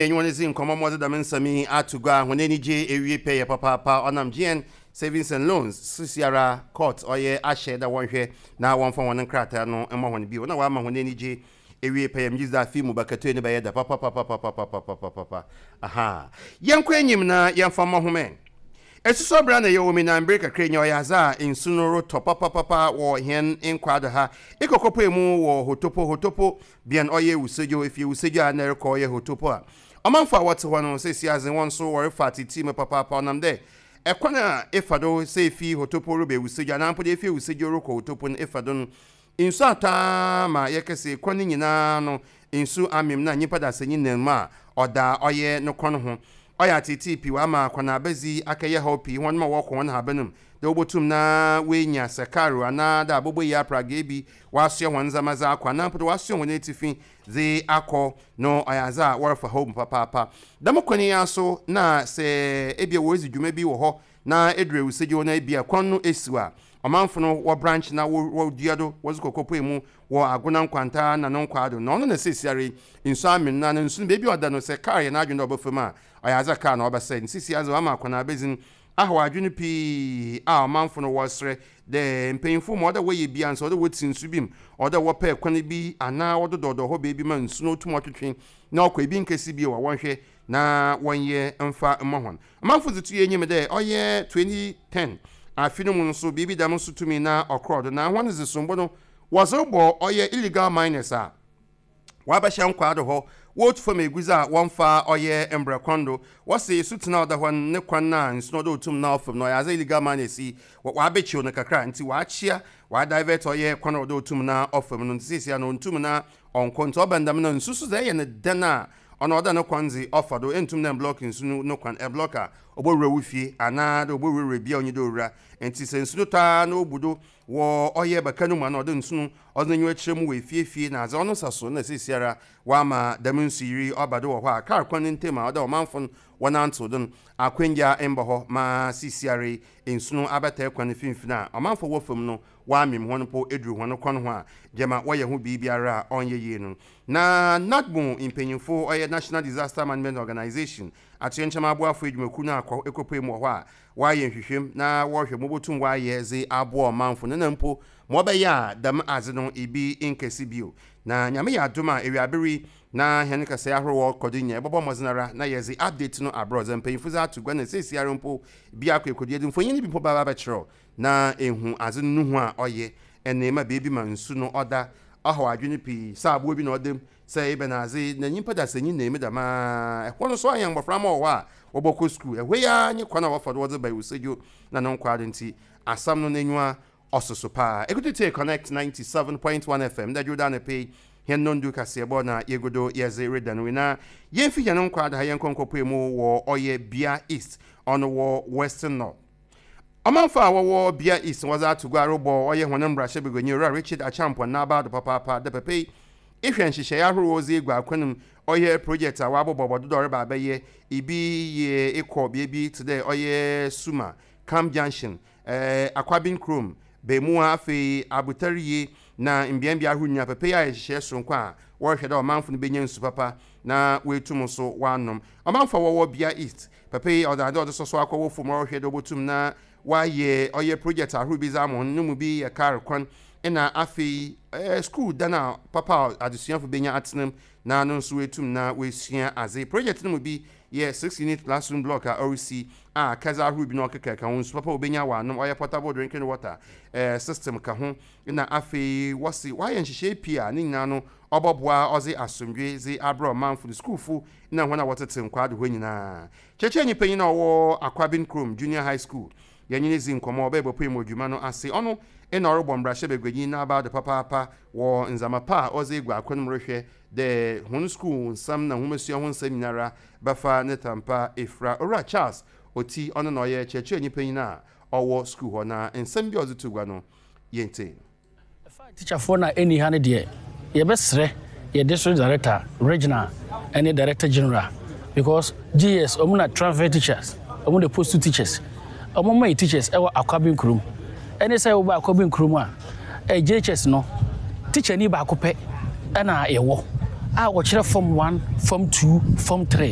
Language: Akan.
Yɛnye hɔn dzi nkɔmbɔ ma wɔdze dɛm nsɛm yi ato gua. Hɔn enyigye ewie pɛyɛ papaapa. Ɔnam GN Savings and Loans seseiara court ɔyɛ ahyɛ dɛ wɔnhwɛ na wɔmfa hɔn nkrataa no mma hɔn bio na wɔama hɔn enyigye ewie pɛyɛ. Megye dzi dɛ afe yi mu bakatoe no bɛyɛ dɛ papapapapapapapapa. Ahaa. Yɛnkɔ enyim na yɛmfa mbɔ hom ɛ. Esusuo ber a nna yɛwɔ mu yi na mber kakra nyi ɔyɛ adze a nsu no rotɔ papapapa wɔ hɛn nkwaa do ha. Ekɔkɔpuei mu wɔ Hotopo, Hotopo Bean ɔyɛ Ewusedwo, efi Ewusedwo a nna erokɔ ɔyɛ Hotopo a. Ɔmamfo a wɔtse hɔ no, sesei dze hɔn so wɔrefa atsetsir mu papaapa ɔnam dɛ kwan a efa do sɛ efi Hotopo reba Ewusedwo anaa mpo dɛ efi Ewusedwo rokɔ Hotopo no efa do no, nsu atɔ ara ma yɛkɛse kwan no nyina no nsu amem na nyimpa dasanyi nam mu a ɔda ɔyɛ no kɔn ho. Ɔyɛ atseetsee pii ɔama akɔnaabadzi akɛyɛ haw pii hɔn ma wɔkɔ hɔn haban mu dɛ wobotum na woenya sɛkaar anaa dɛ aboboyi apragee bi wɔasoa hɔn ndzɛmba dze akɔ anaa mpo dɛ wɔasoa hɔn etsifi dze akɔ no ɔyɛ adze a wɔrefa haw mu papaapa. Dɛm kwan yi ara so na sɛ ebia woridzi dwuma bi wɔ hɔ na edur ewusedwo na ebia kwan no esiw a, ɔmamfo no wɔ branch na wodua do wɔdze kɔ kɔpuei mu wɔ Agona Nkwanta na no nkwaa do na ɔno na seseiara yi nsu amen no na nsu no beebi a ɔda no sɛ kaar yɛ n'adwen dɛ ɔbɛfa mu a ɔyɛ adze a kaar na ɔbɛsɛɛ ntsi seseiara dze wɔama akwan abedzin ahaw adwen pii a ɔmamfo no wɔreserɛ dɛ mpanyimfo ma ɔwɔ dɛ wɔyɛ bi a nso ɔwɔ dɛ wotsi nsu bi mu ɔwɔ dɛ wɔpɛ kwan bi anaa wɔdodɔɔdɔɔ hɔ beebi ma nsu no otum ɔtwetwe na ɔkɔ ebi nnkesi bio a wɔnhwɛ na wɔnyɛ mfa mma hɔn. Ɔmamfo dze to enyim dɛ ɔyɛ 2010 afe no mu no so biribi dɛm so tumii na ɔkrɔɔ do na hɔn dze sombo no wɔdze robɔ ɔyɛ illegal miners a wɔabɛhyɛ nkwaa do hɔ worutu famu egudze a wɔmmfa ɔyɛ mbrɛ kwan do. Wɔse esutsen a ɔda hɔ no ne kwan no a nsu no ɔdɛ otum na ɔfa mu no ɔyɛ adze a illegal miners yi wɔabɛkyew no kakra ntsi wɔakyea wɔadivert ɔyɛ kwan a ɔdɛ otum na ɔfa mu no ntsi sesei no onntum na ɔnnkɔ ntsi ɔba no dɛm no nsu so dze ɛyɛ no dɛn a Ɔno ɔda no kwan dze ɔfa do, enntum dɛ mblɔk nsu no no kwan, ɛblɔk a, obowura wo fie anaa dɛ obowurawura bea a onnyi dɛ owura. Ntsi sɛ nsu no tɔ ara na obu do wɔ ɔyɛ baka no mu anaa ɔda nsu no ɔdze n'enyiwa kyerɛ mu wɔ efiefie na adze, ɔno saso na seseiara wɔama dɛm nsuyirii yi ɔba do wɔ hɔ a kaar kwan no ntamu a ɔda ɔmamfo no wɔnantsew do no akwangya mmbɔ hɔ ma seseiara yi nsu no abɛtaa kwan no finimfin a ɔmamfo wɔ famu no wɔamem hɔn mpo edur hɔn kɔn ho a gyama wɔyɛ ho biribiara a ɔnnyɛ yie no. Na NADMO mpanyimfo, ɔyɛ National Disaster Management Organization, atoyerɛnkyɛm aboafo edwumakuw no akɔ ekopue mu wɔ hɔ a wɔayɛ nhwehwɛmu na wɔrohwɛ ma wobotum wɔayɛ dze aboa ɔmamfo no na mpo ma ɔbɛyɛ a dɛm adze no bi nnkesi bio. Na Nyame yɛ adom a ewiaber yi na hɛn nkɛsɛɛ ahorow ɔkɔ do nyina yɛbɔbɔ mbɔdzen ara na yɛdze update no abrɛ dza mpanyimfo dze ato gua na seseiara mpo bi akɔ ekodu yɛdze mfonyin no bi mpo bɛba abɛkyerɛw Na ehu adze no no hu a ɔyɛ ne ma beebi ma nsu no ɔda ɔhaw adwen pii sɛ abowa bi na ɔda mu, sɛ ebɛn adze na nyimpa dasanyi na emi dɛm ara. Hɔ no so ayɛ mboframba wɔ hɔ a wɔbɔkɔ skuul. Hɔ yi ara nye kwan a wɔfa do wɔdze ba Ewusedwo na no nkwaa do ntsi asɛm no n'enyiwa ɔsoso paa. Ekutu tsie Connect 97.1 FM ndɛ Dwowda anapa yi hɛn nondu kaseɛbɔ na yegu do yɛdze reda no na yemfi hɛn nkwaa do ha yɛnkɔ nkɔpue mu wɔ ɔyɛ Bia East ɔno wɔ Western North. Ɔmamfo a wɔwɔ Bia East na wɔdze ato gua robɔ ɔyɛ hɔn mbrahyɛbaguanyi Owura Richard Acheampong n'abaw do papaapa dɛ papa yi ehwɛ nhyehyɛɛ ahorow a ɔdze egu akwan mu ɔyɛ project a wɔabobɔbɔ do dɛ ɔreba abɛyɛ ibi yɛ ekɔ beebi tse dɛ ɔyɛ Suma, Camp Junction, Akwabin kurom, Bemua afei Abotariye na mbeambea ahorow nyina papa yi ayɛ nhyehyɛɛ soronko a wɔrohwɛ dɛ ɔmamfo no benya nsu papa na woetum so wɔanom. Ɔmamfo a wɔwɔ Bia East Papa yi ɔdze adze a ɔdze sɔsɔ akɔ wɔ famu a ɔrohwɛ dɛ obotum na ɔayɛ ɔyɛ project ahorow bi dze ama hɔn, no mu bi yɛ kaar kwan na afei skuul dan a papa a adzesuafo benya atsena mu na no so woetum na woesua adze. Project no mu bi yɛ six-unit classroom block a ɔrisi a akɛdze ahorow bi na ɔkekakeka ho, nsu papa a wobenya wɔanom, ɔyɛ portable drinking water system ka ho na afei wɔse wɔayɛ nhyehyɛɛ pii a ne nyina no ɔbɔboa ɔdze asomdwee dze abrɛ ɔmamfo no, skuulfo na hɔn a wɔtsetse nkwaa do hɔ nyina. Kyerɛkyerɛnyi panyin a ɔwɔ Akwabin Kurom Junior High School, yɛnye no dzii nkɔmbɔ, ɔbɛyɛ bɔpuei mu wɔ dwuma no ase. Ɔno na ɔrobɔ mbrahyɛbaguanyi n'abaw do papaapa wɔ ndzɛmba pa a ɔdze egu akwan mu rohwɛ dɛ hɔn skuul nsɛm na nwomasua ho nsɛm nyinara bɛfa ne tampa efura. Owura Charles Oti, ɔno na ɔyɛ kyerɛkyerɛnyi panyin a ɔwɔ skuul hɔ, na nsɛm bi a ɔdze too gua no, yentsie. Ɛfa atikyafoɔ no a ɛnni ha no deɛ, yɛbɛsrɛ yɛ district director, regional ɛne director general because GS wɔn na transfer teachers, wɔn na post teachers. Wɔn ma yɛ teachers ɛwɔ Akwabin kurom. Ɛne sɛ woba Akwabin kurom a, JHS no, teacher ni baako pɛ ɛna yɛwɔ. a wɔkyerɛ Form 1, Form 2, Form 3.